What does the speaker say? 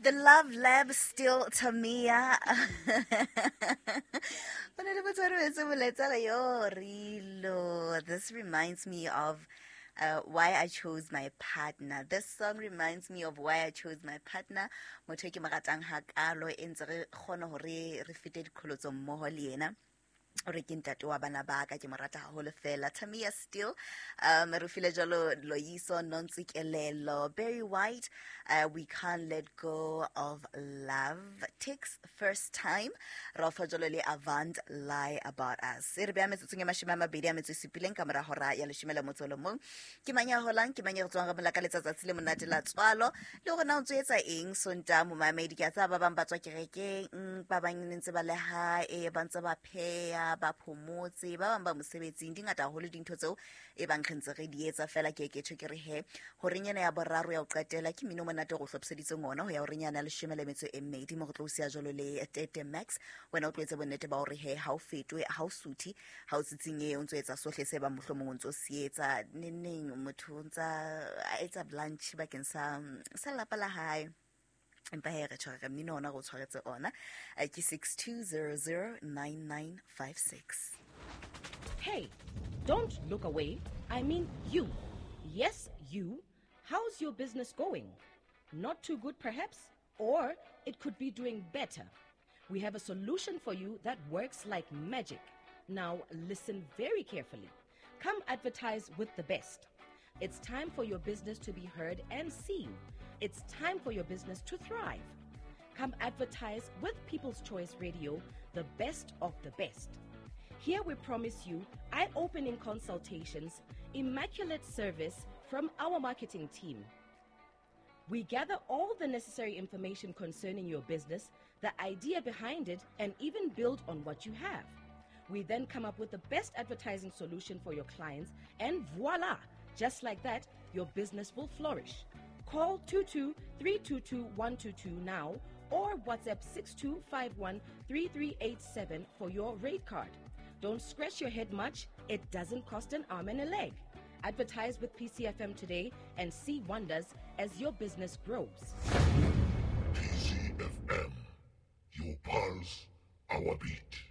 The Love Lab still Tamia. Go na le motho a rometse molaetsa re, "Yo, Rilo, this reminds me of why I chose my partner. This song reminds me of why I chose my partner. Motho e ke mo ratang hakalo e ntse re kgone hore re fete diqholotso mmoho le yena. O re ke ntate wa bana ba ka, ke mo rata haholo fela." Tamia still re file jalo Loyiso Nontsikelelo, Barry White, "We Can't Let Go of Love", Tix, "First Time", ra fa jalo le Avant, "Lie About Us". E re beya metsotsong e 27 ka mora hora ya leshome le motso o le mong. Ke mang ya holang, ke mang ya re tswang re mola ka letsatsi le monate la tswalo, le hore na o ntso etsa eng Sonta, momamedi? Ke a tseba ba bang ba tswa kerekeng, ba bang ne ntse ba le hae, ba ntse ba pheya, ba phomotse, ba bang ba mosebetsing. Di ngata haholo dintho tseo e bang re ntse re di etsa fela. Ke ke tjho ke re he horeng ena ya boraro ya ho qetela ke mmino o monate o go hlophiseditseng ona ho ya horeng yana ya 12 mo re tlo o siya jalo le Tete Max. Wena o tlo etse bonnete ba hore he ha o fetwe, ha o suthe, ha o tsitsinye, o ntso etsa sohle se bang mohlomong o ntso se etsa neneng. Motho o ntsa a etsa lunch bakeng sa lelapa la hae, empa he re tshware mmino ona re o tshwaretse ona. Ke 6200 9956. Hey, don't look away. I mean you. Yes, you. How's your business going? Not too good, perhaps? Or it could be doing better. We have a solution for you that works like magic. Now, listen very carefully. Come advertise with the best. It's time for your business to be heard and seen. It's time for your business to thrive. Come advertise with People's Choice Radio, the best of the best. Here we promise you eye opening consultations, immaculate service from our marketing team. We gather all the necessary information concerning your business, the idea behind it, and even build on what you have. We then come up with the best advertising solution for your clients, and voila! Just like that, your business will flourish. Call 22 322 122 now or WhatsApp 6251 3387 for your rate card. Don't scratch your head much, it doesn't cost an arm and a leg. Advertise with PCFM today and see wonders as your business grows. PCFM. Your pulse, our beat.